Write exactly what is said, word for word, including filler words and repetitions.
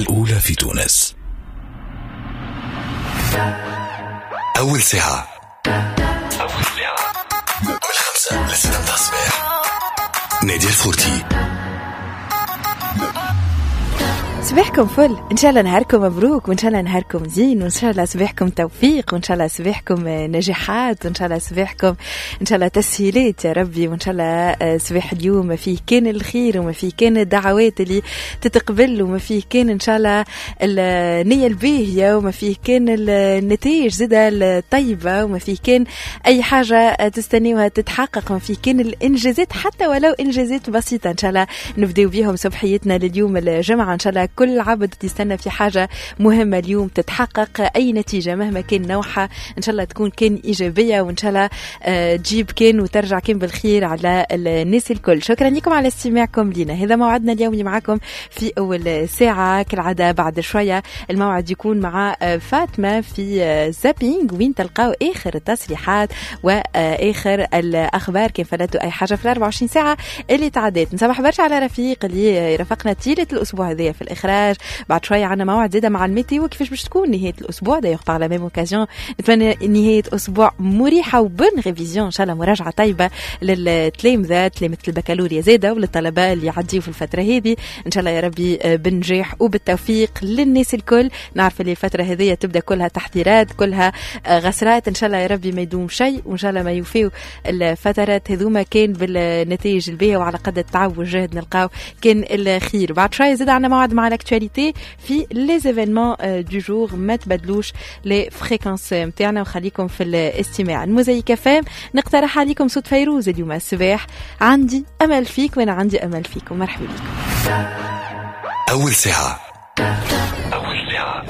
الأولى في تونس. أول ساعة أول ساعة من خمسة لستة الصباح، نادية الفورتي. صباحكم فل، ان شاء الله نهاركم مبروك، وان شاء الله نهاركم زين، وان شاء الله صباحكم توفيق، وان شاء الله صباحكم نجاحات، وان شاء الله صباحكم ان شاء الله تسهيلات يا ربي، وان شاء الله صباح اليوم ما فيه كان الخير، وما فيه كان الدعوات اللي تتقبل، وما فيه كان ان شاء الله النية الباهية، وما فيه كان النتائج زادة الطيبة، وما فيه كان اي حاجة تستنيوها تتحقق، وما فيه كان الانجازات حتى ولو انجازات بسيطة. ان شاء الله نبداو بيهم صبحيتنا لليوم الجمعة. ان شاء الله كل عبد يستنى في حاجة مهمة اليوم تتحقق، أي نتيجة مهما كان نوعها إن شاء الله تكون كان إيجابية، وإن شاء الله تجيب كان وترجع كان بالخير على الناس الكل. شكرا لكم على استماعكم لنا. هذا موعدنا اليومي معكم في أول ساعة كالعادة. بعد شوية الموعد يكون مع فاطمة في zapping، وين تلقاو آخر التصريحات وآخر الأخبار كان فلتوا أي حاجة في الأربعة وعشرين ساعة اللي تعدت. نصبح برشا على رفيق اللي رافقنا طيلة الأسبوع هذايا في الإخراج. بعد شوية عنا موعد زادة مع ال météo كيفاش باش تكون نهاية الأسبوع. d'ailleurs par la même occasion نتمنى نهاية أسبوع مريحة و bonnes révisions، إن شاء الله مراجعة طيبة للتلامذة، تلامذة البكالوريا زادة وللطلبة اللي يعديوا في الفترة هذه. إن شاء الله يا ربي بالنجاح وبالتوفيق للناس الكل. نعرف اللي الفترة هذه تبدأ كلها تحضيرات، كلها غسرات، إن شاء الله يا ربي ما يدوم شيء، وإن شاء الله ما يوفيو الفترات هذوما كان بالنتائج الباهية، وعلى قد التعب والجهد نلقاو كان الخير. بعد شوية زاد عنا موعد مع l'actualité في les événements du jour. ما تبدلوش les fréquences نتاعنا وخليكم في الاستماع. الموزايك فام نقترح عليكم صوت فيروز اليوم الصباح، عندي امل فيك وانا عندي امل فيكم. مرحبا بكم. اول ساعة أول ساعة